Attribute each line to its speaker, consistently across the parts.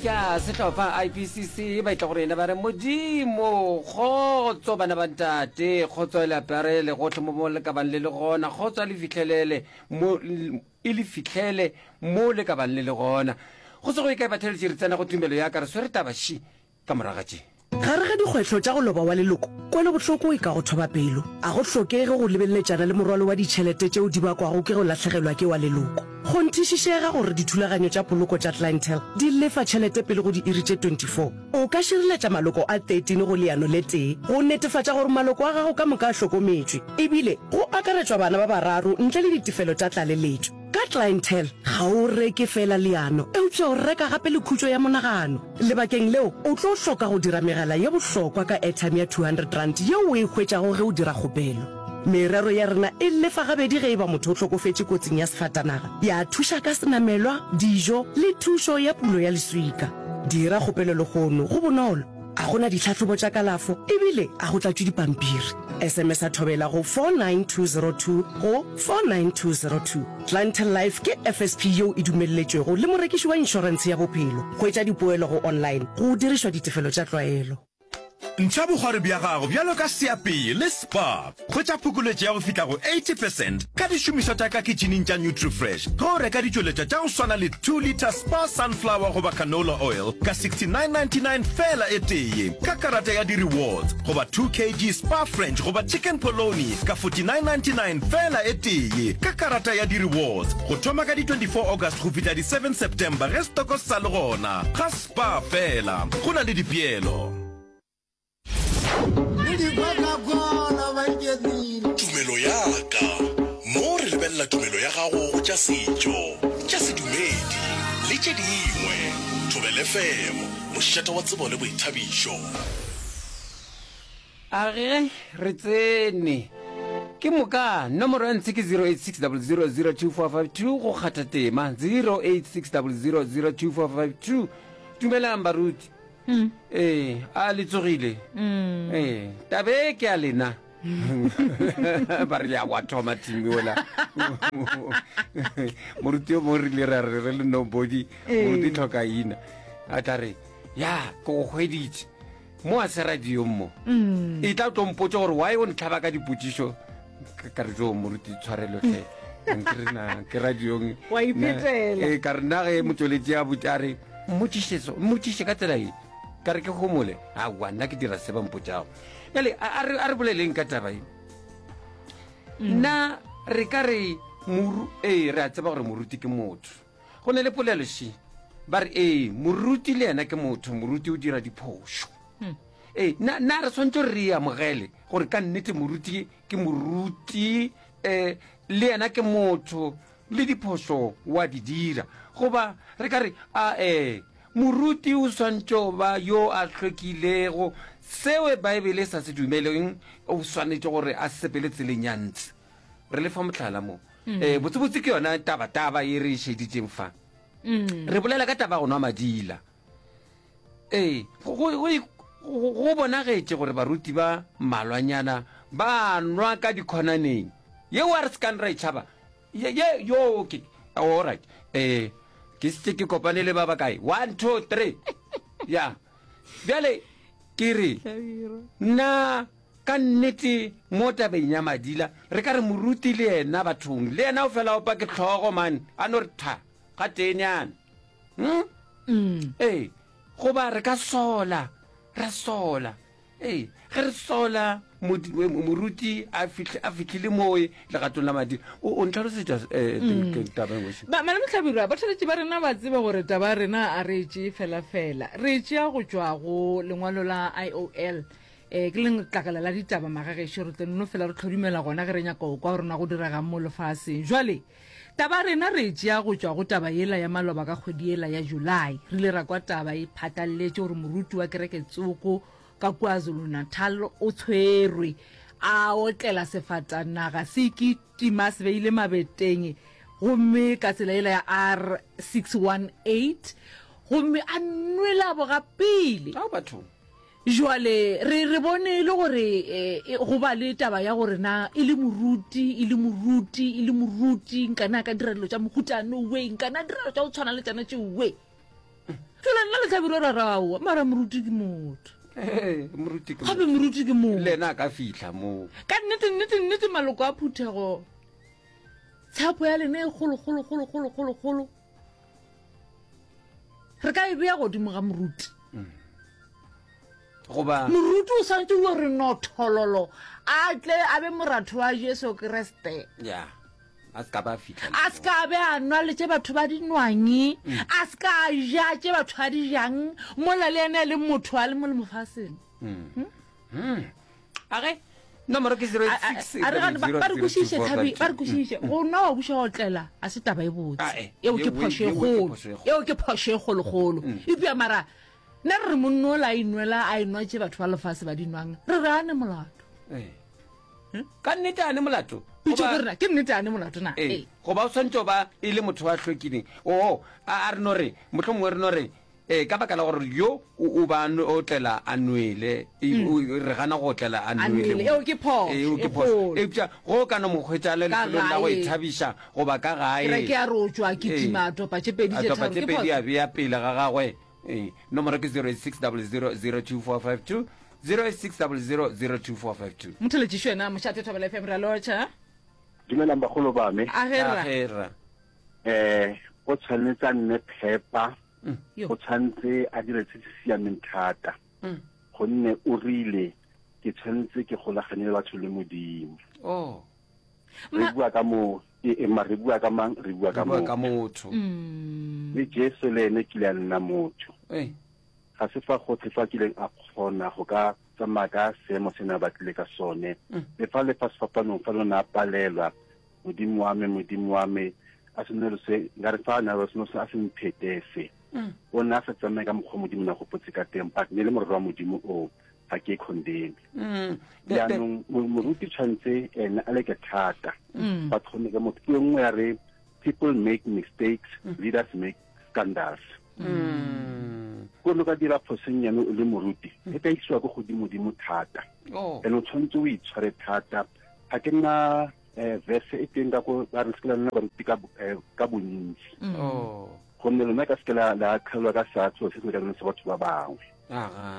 Speaker 1: Tša sehlopha IPCC ba etla go rena ba re, Modimo, kgotso bana ba ntate, kgotso e le aparele gohle mo mo le ka bang le le gona, kgotso a le fihlelele mo e le fihlele mo le ka bang le le gona. Go se go ye kae batheeletši re tsena go tumelo ya ka re swere taba ši ka morago ga tše.
Speaker 2: Gare ga dikgwetlho tša go loba wa leloko, kwelobohloko e ka go thoba pelo. A go hlokege go lebeletšana le morwalo wa ditšhelete tšeo di bakwago ke go lahlegelwa ke wa leloko. Kgonthišišega gore dithulaganyo tša poloko tša Clientele di lefa tšhelete pele go diiri tše 24. O ka šireletša maloko a 13 go leano le tee go netefatša gore maloko a gago ka moka a hlokometšwe, ebile go akaretšwa bana ba bararo ntle le ditefelo tša tlaleletšo. Ka Clientele, ga o reke feela leano, eupša o reka gape le khutšo ya monagano. Lebakeng leo, o tlo hloka go dira megala ye bohlokwa ka airtime ya R200 yeo o e hwetšago ge o dira kgopelo. Merero ya rena e lefa gabedi ge e ba motho o hlokofetše kotsing ya sefatanaga, ya thuša ka senamelwa, dijo le thušo ya pulo ya leswika. Dira kgopelo lehono, go bonolo, a go na ditlhahlobo tša kalafo ebile a go tlatšwe dipampiri. SMS-a Thobela go 49202 go 49202. Clientele Life ke FSP yeo e dumelletšwego le morekiši wa inšorentshe ya bophelo. Hwetša dipoelo go online go dirišwa ditefelo tša tlwaelo.
Speaker 3: Ntšha bokgwari bja gago bjalo ka seapei le Spar. Hwetša phokoletšo ya go fihla go 80 percent ka dišomišwa tša ka kitšhining tša Nutrifresh ge o reka ditšweletšwa tša go swana le 2 litre Spar Sunflower goba Canola Oil ka 69.99 feela e tee ka karata ya di-rewards goba 2 kg Spar French goba Chicken Polony ka 49.99 feela e tee ka karata ya di-rewards go thoma ka di 24 August go fihla di 7 September ge stoko se sa le gona ga Spar feela go na le dipeelo.
Speaker 4: Tumelo ya ka. Mo re lebelela tumelo ya gago go tša setšo, tša sedumedi le tše dingwe. Thobela FM, mošate wa tsebo le boithabišo.
Speaker 1: A ge re tsene. Ke moka, nomoro ya ntshe ke 0860002452 go kgatha tema 0860002452. Dumelang baruti. Mm. Ee, a le tsogile? Mm. Ee, tabe ke a lena. ba re ya wa thoma team ola moruti yo mongwe rile ra re re le nobody moruti tlhoka ina a tla re ya ke go hweditše mo a se radiong mo mm. e tla tlo mpotsa gore why o ntlhaba ka dipotšišo ka re jo moruti tshwarelotlhe ke radiong ee ka re nna ge motsweletši a botse a re mmotšišeso mmotšiše ka tsela e ka re ke gomole aowa nna ke dira se ba mpotšago jale a re boleleng ka taba e mm. nna re ka re ee re a tseba gore moruti ke motho Go ne le polelo še, ba re, Ee, moruti le yena ke motho, moruti o dira diphošo. Hmm. Ee, na, na re swanetše gore re e amogele gore ka nnete moruti ke moruti, eh, le yena ke motho, le diphošo wa di dira. Goba re ka re, a ee, moruti o swanetše go ba yo a hlwekilego, seo Baebele e sa se dumeleng, o swanetše gore a sepele tseleng ya ntshe. Re le fa mohlala mo. Mm. Eh, botsebotse ke yona tabataba e re e šeditšeng fa. Mm. Re bolela ka taba go nwa madila. Ee, go, go, go, go bonagetše gore baruti ba mmalwanyana ba nwa ka dikhonaneng. Yeo a re se kang ra e tšhaba. Ye, ye, yo, ke, all right. Eh, ke setse ke kopane le ba bakae? One, two, three. Ya. Bjale, ke re, na Ka nnete mo tabeng ya madila re ka re moruti le yena bathong le yena o fela opa ke hlogo man a no re tha ga teenyana hmm? mm. ee goba re ka sola ra sola ee ge re sola moruti a fihlile moe legatong la madila o ntlhalosetša eh, mm. taba engwe
Speaker 5: malome hlabirwa batheletši ba rena ba tsebe gore taba ya rena a re e tšee fela fela re e tšea go tšwa go lengwalo la iol E, ke letlakala la ditaba magagešo, re tlo nno fela re tlhodumela gona ge re nyaka go kwa gore na go diregang mo lefaseng. Jwale, taba rena re e tšea go tšwa go taba yela ya maloba ka kgwedi yela ya July. Re ile ra kwa taba e phatlalletše gore moruti wa kereke tsoko ka kua Zulu-Natal o tshwerwe a otlela sefatanaga se kitima se beile mabeteng gomme ka tsela yela ya R618 gomme a nwela bogapele.
Speaker 1: Ao bathong.
Speaker 5: Jwale re, re bone e le gore e, go ba le taba ya gore na e le moruti, e le moruti, e le moruti, nkane a ka dira dilo tša mohuta no we, nkane a dira dilo tša go tshwana le tšana tše we. Fela nna le Hlabirwa ra re aowa, mara moruti ke motho.
Speaker 1: Ee, moruti ke
Speaker 5: Gape moruti ke motho.
Speaker 1: Le yena a ka fihla moo.
Speaker 5: Ka nnete, nnete, nnete maloko a phuthego, tshepo ya lena e kgolo, kgolo, kgolo, kgolo, kgolo, kgolo. Re ka e bea godimo ga moruti.
Speaker 1: Goba
Speaker 5: Moruti o swanetše go re nothololo a tle a be moratho wa Jesu Kriste.
Speaker 1: ya a se ka ba fihla
Speaker 5: A se ka be a nwa le tše batho ba di nwangi, a se ka a ja tše batho ba di jang, mola le yena e le motho a le mo le mofaseng.
Speaker 1: A ge nomoro ke 06
Speaker 5: A re gane ba re kwešiše Thabi, ba re kwešiše. Go nwa wa buša wa otlela a se taba e botse.
Speaker 1: Ah, eh.
Speaker 5: Eo ke
Speaker 1: Yeo-
Speaker 5: phošo e
Speaker 1: yeo ke
Speaker 5: kgolo.
Speaker 1: phošo e kgolo.
Speaker 5: Eo ke phošo e kgolokgolo. Eupša mara Nna re re monna ola a inwela a enwa tše batho ba lefase ba di nwang, re re a ne molato.
Speaker 1: Ee. Ka nnete a ne molato?
Speaker 5: Pitšo
Speaker 1: Goba-
Speaker 5: ke rena, ke nnete a ne molato na?
Speaker 1: Ee.
Speaker 5: Ee.
Speaker 1: Goba o swanetše go ba e le motho wa hlwekileng. Oo, a, a re no re, mohlomongwe re no re, ee, ka baka la gore yo o, o ba a nwe- otlela a nwele, e, o, re gana go otlela a
Speaker 5: A
Speaker 1: nwele.
Speaker 5: nwele. Eo ke phošo
Speaker 1: Ee, eo ke
Speaker 5: e
Speaker 1: phošo.
Speaker 5: kgolo.
Speaker 1: Eupša ge o ka no mo hwetša a le
Speaker 5: Ka
Speaker 1: lefelong la go
Speaker 5: gae.
Speaker 1: ithabiša goba ka gae.
Speaker 5: Kereke ya re o tšwa a
Speaker 1: Ee.
Speaker 5: kitima a topa tše pedi
Speaker 1: A
Speaker 5: tše
Speaker 1: topa
Speaker 5: tharo,
Speaker 1: tše
Speaker 5: ke
Speaker 1: pedi
Speaker 5: phošo.
Speaker 1: a bea pele ga gagwe. Ee, nomoro ke 086000245 086000245.
Speaker 5: Motheletšišo yena mošate Thobela FM ra lotšha.
Speaker 6: Dumelang bagolo ba me.
Speaker 5: A ge rra.
Speaker 1: A ge rra.
Speaker 6: Eh, o tshwanetse a nne phepa.
Speaker 5: Mm.
Speaker 6: O tshwanetse a dire se se siameng thata.
Speaker 1: Mm.
Speaker 6: Gonne o rile ke tshwanetse ke golagane le batho le Modimo.
Speaker 1: Oh.
Speaker 6: Re bua ka mo e, e ma re bua ka mang re bua ka
Speaker 1: bua ka
Speaker 6: motho
Speaker 1: motho
Speaker 5: mm.
Speaker 6: le Jesu le ene kile a nna motho
Speaker 1: ee
Speaker 6: ga se fa gotlhe fa kileng a kgona go ka tsamaya ka seemo se ne a batlile ka sone
Speaker 1: mm.
Speaker 6: le fa le fa sefapanong fa lona a palelwa modimo wa me modimo wa me a senelo se nkare fa a na seno se a se mphete se
Speaker 1: mm.
Speaker 6: o ne a sa tsamaye ka mokgwa modimo na gopotse ka teng but ne le morero wa modimo oo ga ke condemn
Speaker 1: mm.
Speaker 6: jaanong moruti tshwanetse ene a leke thata
Speaker 5: mm.
Speaker 6: ba tlhome ka motho ke nngwe ya re people make mistakes mm. leaders make scandals ko lo ka dira phosennyane o le moruti e ka isiwa ko godimodimo thata
Speaker 1: oh.
Speaker 6: and o tshwanetse o itshware thata ga ke nna um verse e teng ka ko ba re se ke la nna baruti ka eh, bontsi
Speaker 1: oh.
Speaker 6: gonne lona ka seke la kgelwa ka seatlo se se lekaneng sa batho ba bangwe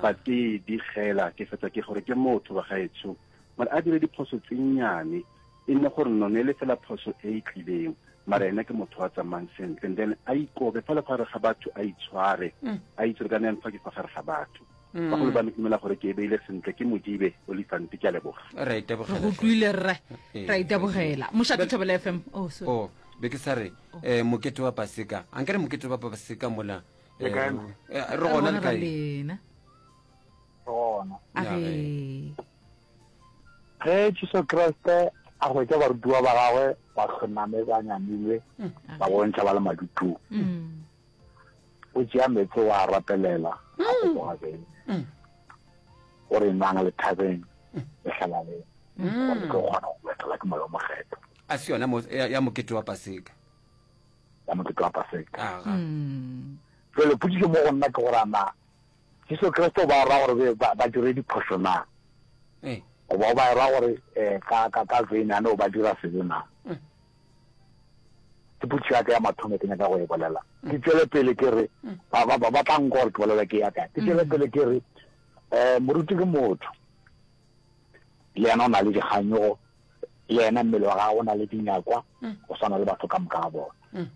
Speaker 6: ba ke di gela ke fetsa ke gore ke motho ba gaetsho mara a dire diphoso tse nnyane e nne gore none le fela phoso e e tlileng mara ene ke motho wa tsamayng sentle and then a ikobe fa le fa gare ga batho a itshware
Speaker 1: mm.
Speaker 6: a itse ka neng fa ke fa gare ga batho
Speaker 1: mm.
Speaker 6: bagolo ba me ke dumela gore ke e beile sentle ke modibe olifante ke a leboga
Speaker 1: re
Speaker 5: re go utlwile rre ra itebogela mošate thobela fm oh, sorry.
Speaker 1: oh be ke sa re um mokete wa paseka a nkere mokete wa paseka mola
Speaker 7: Le kae?
Speaker 1: Eh, re gona le kae
Speaker 5: lena
Speaker 7: Re gona.
Speaker 5: a re
Speaker 7: Ge Jesu Kriste a hwetša barutiwa ba gagwe ba hloname ba nyamilwe, ba bontšha ba le madutung, o tšea meetse wa a rapelela, a fetoga beine. O re nwang le thabeng le hlalaleng, gore le tlo kgona go etelwa ke Moya o Mokgethwa.
Speaker 1: A se yona ya mokete wa Paseka.
Speaker 7: Ya mokete wa Paseka.
Speaker 1: Aga.
Speaker 7: Jwale potšišo mo go nna ke gore a na Jesu Kriste o ba ra gore ba, ba dire diphošo na?
Speaker 1: Ee.
Speaker 7: Goba o ba ra gore eh, ka, ka, ka veine ane o ba dira sebe na? Ke potšišo ya ka ya mathomo ke nyaka go e bolela. Ke tšwele pele ke re, ba, ba, ba, ba tla nkwa gore ke bolela ke ya kae. Ke tšwele pele ke re, eh, moruti ke motho. Le yena o na le dikganyogo, le yena mmele wa gagwe o na le dinyakwa go swana le batho ka moka ga bona.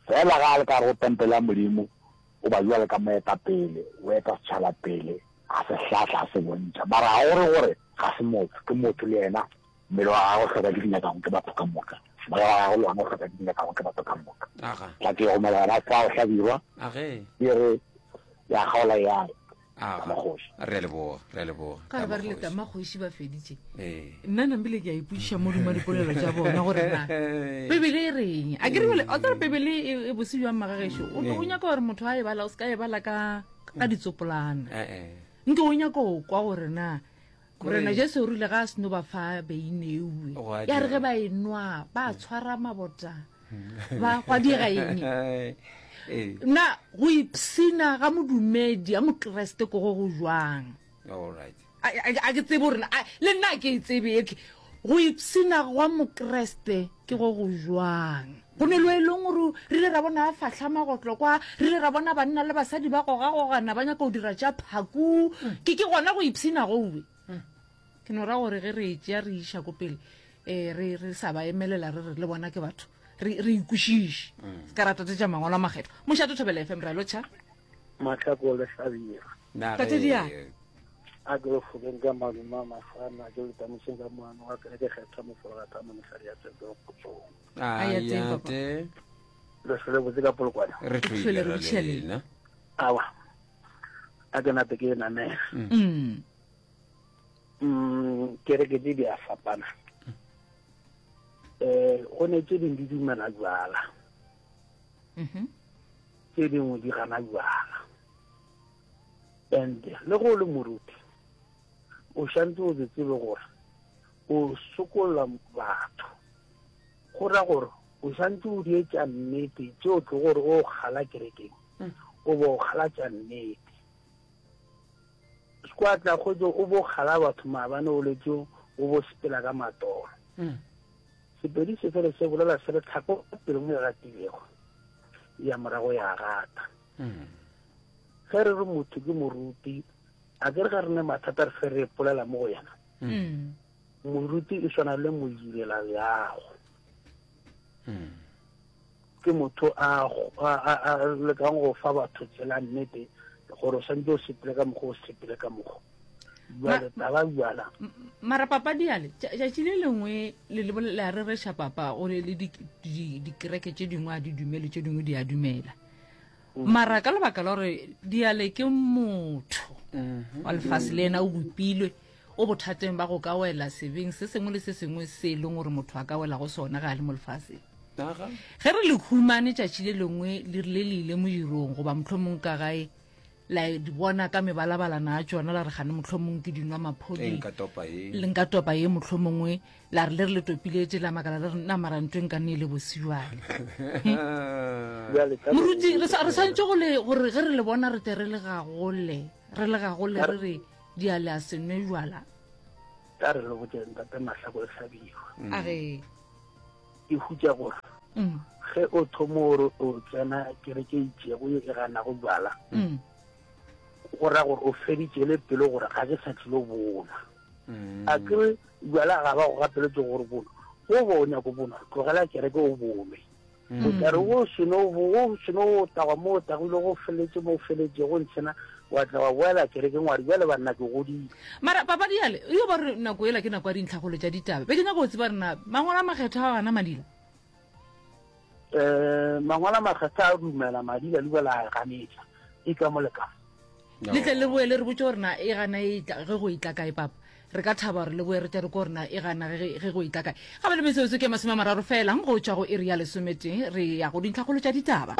Speaker 7: Fela ga a le ka gare go tempele ya Modimo, o ba bjalo ka moetapele, o eta setšhaba pele, a se hlahla, a se bontšha. Mara ga go re gore ga se motho, ke motho le yena, mmele wa gagwe o hloka ke dinyakago ke batho ka moka, moya wa gagwe le wona o hloka ke dinyakago ke batho ka moka. Tla ke gomela gona fao, Hlabirwa, e re ya kgaola ya re.
Speaker 1: Aga, re a leboga, re a leboga.
Speaker 5: Ka re ba rile Tamakgoši ba feditše.
Speaker 1: Ee.
Speaker 5: Nna nambile ke a ipotšiša mo duma dipolelo tša bona gore na Bibele e reng. A ke re bjale, o tsere Bibele e, e bose bjang magagešo. O o nyaka gore motho a e bala o se ka e bala ka ka ditsopolana.
Speaker 1: Eh, eh.
Speaker 5: Nke o nyaka go kwa gore na
Speaker 1: Kore-
Speaker 5: Morena Jesu o rile ga a seno ba fa beine ewe.
Speaker 1: Gwa
Speaker 5: Ya re
Speaker 1: dira.
Speaker 5: ge ba e nwa ba tshwara mabota. Ba gwa dira eng?
Speaker 1: Ee.
Speaker 5: Na go ipshina ga modumedi a mokreste ko go go jwang?
Speaker 1: All right.
Speaker 5: A, a, a ke tsebe gore na- le nna a ke e tsebe etle. Go ipshina gwa mokreste ke go go jwang? Go ne lo e leng gore re ile ra bona a fahla magotlo kwa, re ile ra bona banna le basadi ba gogagogana ba nyaka go dira tša phaku. Ke ke gona go ipshina gowe. Ke no ra gore ge re e tšea re iša ko pele, um re re sa ba emelela re re le bona ke batho, re re ikwešiše. Se ka ra tatetša mangwalo a makgethwa. Mošate Thobela FM, re a lotšha.
Speaker 8: Mahlako le Hlabirwa.
Speaker 5: Tate Diane.
Speaker 8: A ke le fokeng ka malume a mafana, ke le tamišeng ka moano wa kereke kgethwa mofologata mo mosadi ya tsebe kgotsong.
Speaker 5: A ya teng, papa.
Speaker 1: Ayate.
Speaker 8: Le hlole botse ka polokwane.
Speaker 1: Re
Speaker 5: tlhole
Speaker 1: tlhoile
Speaker 5: re
Speaker 1: ra
Speaker 5: botšhele.
Speaker 1: lena.
Speaker 8: Awa. A ke nape ke e namela.
Speaker 5: Mm.
Speaker 8: Mm, kereke tše di a fapana. Eh, go ne tše dingwe di dumela jwala,
Speaker 5: Mhm.
Speaker 8: tše dingwe di gana jwala. And le go le moruti, o šantse o se tsebe gore o sokolla batho. Go ra gore o santse o di etša nnete tše o tlo gore o kgala kerekeng, o bo kgala tša nnete. Sekwa tla kgwetso o bo kgala batho maabane o letse o bo sepela ka matolo. Sepedi se fele se bolela se re tlhako pele mo e gatilego ya morago ya gata. Ge re re motho ke moruti, a ke re ga re ne mathata re fe re polela mo go yena. Moruti e swana le modirela leago. Ke motho a, a, a, a lekang go fa batho tsela nnete gore o santse o sepele ka mokgwa o sepele ka mokgwa. Jwale taba jwala.
Speaker 5: Mara papa diale, tšatši le lengwe le le la rereša papa gore le dikereke tše dingwe a di dumele tše dingwe di a dumela. Mara ka lebaka la gore diale ke motho wa lefase le yena o bopilwe o bothateng ba go ka wela sebeng se sengwe le se sengwe se e leng gore motho a ka wela go sona ga a le mo lefaseng. Ge re le humane tšatši le lengwe le rile le ile modirong goba mohlomong ka gae la di bona ka mebalabalana a tšona la re gane mohlomong ke dinwa maphodi
Speaker 1: Nka topa ye.
Speaker 5: le nka topa ye mohlomongwe la re le re le topiletše la makala le re nna mara ntho e nka nne e le bosiwane
Speaker 8: Bjale ka
Speaker 5: moruti re sa- re swantše go le gore ge re le bona re tle re le gagole re le gagole re re di a le a se nwe jwala
Speaker 8: ka re le botse ntate Mahlako le Hlabirwa.
Speaker 5: a re
Speaker 8: Ke hutša gore
Speaker 5: mm.
Speaker 8: ge o thomo gore o tsena kereke e itšego ye e ganago jwala,
Speaker 5: Mm.
Speaker 8: go ra gore o feditše le pelo gore ga ke sa tlilo bonwa. A ke re jwala ga ba go gapeletše gore bonwa, go bo o nyako bonwa, tlogela kereke o bonwe. O tla re o seno o seno o tagwa mo o tagwile go feletše mo o feletšego ntshena wa tla wa boela kerekeng wa re bjale banna ke godile.
Speaker 5: Mara papa diale yo ba re nako ela ke nako ya dintlhagolo tša ditaba be ke nyaka go tseba rena mangwalo a makgethwa a gana madila.
Speaker 8: Um mangwalo a makgethwa a dumela madila le la a ganetša e ka mo le ka.
Speaker 5: Le tle le boe le re botse gore na e gana e tla ge go e tla kae papa. Re ka thaba gore le boe re tle re ko gore na e gana ge ge go e tla kae. Ga ba le metsotso ke 30 fela go tšwa go iri ya lesometee re ya go dintlhakgolo tša ditaba.